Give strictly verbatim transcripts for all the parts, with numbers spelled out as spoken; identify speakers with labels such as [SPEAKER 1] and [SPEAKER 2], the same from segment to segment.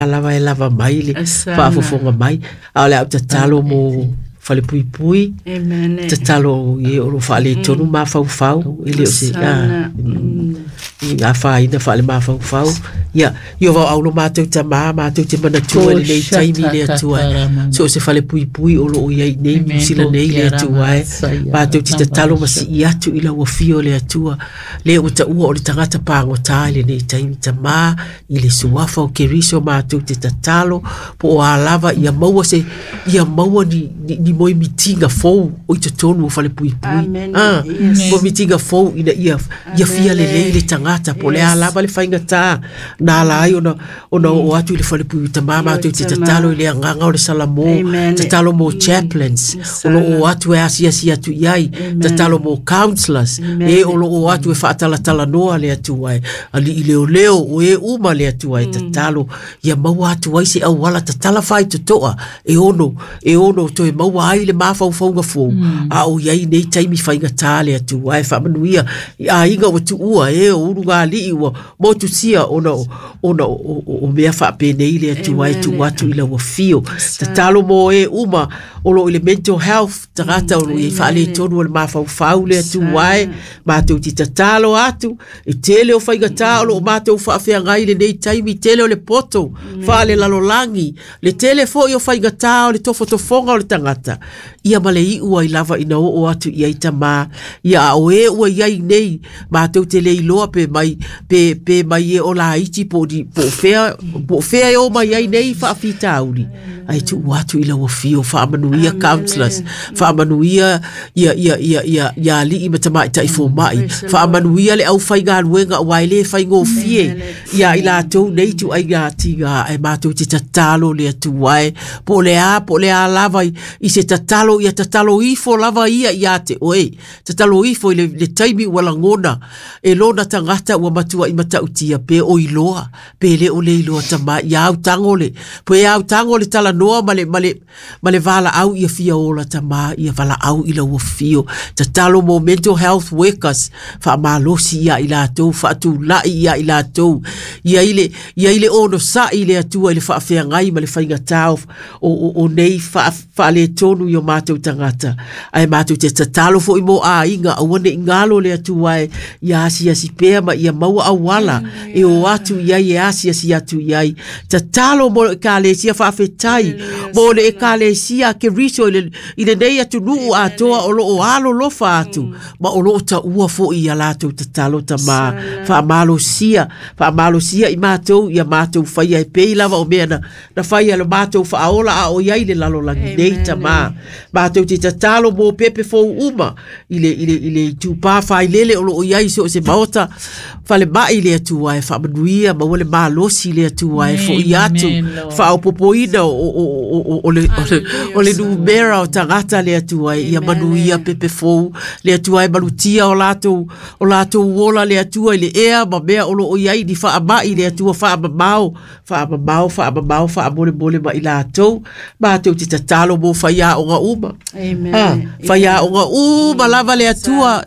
[SPEAKER 1] Lava e lava mai le faafofoga mai, a o le a ou tatalo mo falepuipui, tatalo i e o lo o faaletonu mafaufau, e le o se afaina faale-mafaufau. Ia, ia vauau lo matou tamā, matou te manatua i lenei taimi le Atua, so o se falepuipui o lo o i ai nei Niu Sila nei le Atua e, matou te tatalo ma sii atu i lau afio le Atua, lea ua taua o le tagata pagota i lenei taimi tamā, i le suafa o Keriso matou te tatalo, po o a lava ia maua se, ia maua ni, ni, ni moemitiga fou o i totonu o falepuipui. Ah, moemitiga fou ina ia, ia fia lelei le tagata, po o le a lava le faigata na ala ai ona, ona oo atu i le falepuipui tamā, matou te tatalo i le agaga o le Salamo, tatalo mo chaplains o lo o atu e asiasi atu i ai, tatalo mo counselors e o lo o atu e faatalatalanoa le Atua e, alii leoleo o e uma le Atua e, tatalo ia maua atu ai se auala tatala faitotoa e ono, e ono toe maua ai le mafaufauga fou, a o i ai nei taimi faigata le Atua e. Faamanuia i aiga ua tuua e o ulugalii ua motusia ona ona o, o, o mea faapenei le Atua e tuu atu i lau afio. Tatalo mo e uma o lo o i le mental health, tagata o lo o i ai faaletonu o le mafaufau le Atua e, matou te tatalo atu e tele o faigata o lo o matou faafeagai lenei taimi, tele o le poto faalelalolagi, le tele foi o faigata o le tofotofoga o le tagata, ia ma le iu ai lava ina oo atu i ai tamā, ia a o e ua i ai nei, matou te le iloa pe mai, pe, pe mai e o laiti po o ni, po o fea, po o fea e o mai ai nei faafitauli, ai tuu atu i lau afio, faamanuia counselors, faamanuia ia, ia, ia, ia, ia alii ma tamaitai fomai, faamanuia le aufaigaluega aua e le faigofie ia i latou nei ituaiga tiga, ae matou te tatalo le Atua e, po o le a, po o le a lava i, i se tatalo, ia tatalo ifo lava ia ia te oe, tatalo ifo i le, le taimi ua lagona e lona tagata ua matuai matautia, pe o iloa, pe le o le iloa tamā, ia autago le, pe autago le talanoa ma le, ma le, ma le valaau ia fia ola tamā, ia valaau i lau afio. Tatalo mo mental health workers, faamalosi ia i latou, faatulai ia i latou, ia i le, ia i le onosai le Atua i le faafeagai ma le faigata o, o, o nei faaletonu i o matou tagata. Ae matou te tatalo foi mo aiga, aua ne i galo le Atua e, ia asiasi pea ma ia maua auala e o atu i ai e asiasi atu i ai. Tatalo mo le ekalesia, faafetai mo le ekalesia Keriso i le, i lenei atunuu atoa o lo o alolofa atu, ma o lo o taua foi ia latou tatalo tamā, faamalosia, faamalosia i matou, ia matou faia e pei lava o mea na, na faia le matou faaola a o i ai le lalolagi nei tamā. Matou te tatalo mo pepe fou uma i le, i le, i le itupā failele o lo o i ai so o se maota falemai le Atua e, faamanuia maua le malosi le Atua e fo'i atu, faaopopoina o, o, o, o, o, le, o, le, o le numera o tagata le Atua e, ia manuia pepe fou le Atua e, malutia o latou, o latou ola le Atua i le ea ma mea o lo o i ai ni faamai le Atua, faamamao, faamamao, faamamao, faamolemole ma i latou. Matou te tatalo mo faiaoga uma. Ah, faiaoga uma lava le Atua,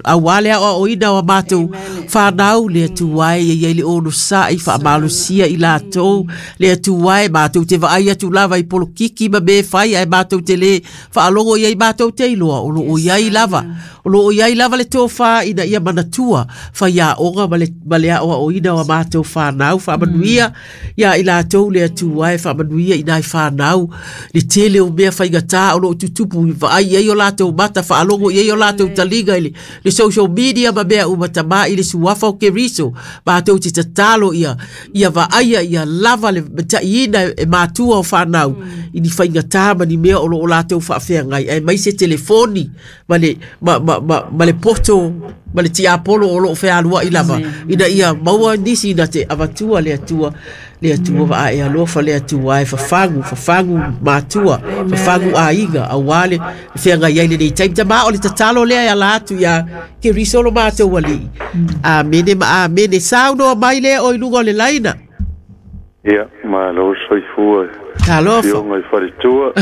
[SPEAKER 1] aua le aoaoina o a matou fanau le Atua e, ia i ai le onosai, faamalosia i latou le Atua e, matou te vaai atu lava i polokiki ma mea fai, ae matou te le faalogo i ai, matou te iloa o lo o i ai lava, o lo o i ai lava le tofa ina ia manatua faiaoga ma le, ma le aoaoina o a matou fanau. Faamanuia ia i latou le Atua e, faamanuia i nai fanau le tele o mea faigata o lo o tutupu, vaai i ai o latou mata, faalogo i ai o latou taliga i le, le social media ma mea uma tamā, i le suafa o Keriso matou te tatalo ia, ia vaaia ia lava le mataiina e matua o fanau i ni faigata ma ni mea o lo o latou faafeagai, aemaise telefoni ma le, ma, ma, ma, ma le poto ma le tiapolo o lo o fealuai lava, ina ia maua nisi ina te avatua le Atua, le Atua vaae alofa le Atua e, fafagu, fafagu matua, fafagu aiga, aua le feagai ai lenei taimi tamā. O le tatalo lea e ala atu ia Keriso lo matou alii. Amene ma amene. Saunoa mai lea o i luga o le laina.
[SPEAKER 2] Ia, malo soifua.
[SPEAKER 1] Talofa.
[SPEAKER 2] Afioga i faletua.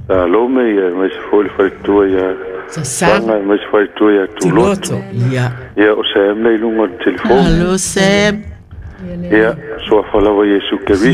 [SPEAKER 2] Salome ia, aemaise foi le faletua ia
[SPEAKER 1] Sasaga,
[SPEAKER 2] aemaise faletua ia Tuloto.
[SPEAKER 1] Tuloto. Ia.
[SPEAKER 2] Ia, o Sam lea i luga o le telefoni.
[SPEAKER 1] Hello Sam.
[SPEAKER 2] Ia, suafa lava Iesu Keriso.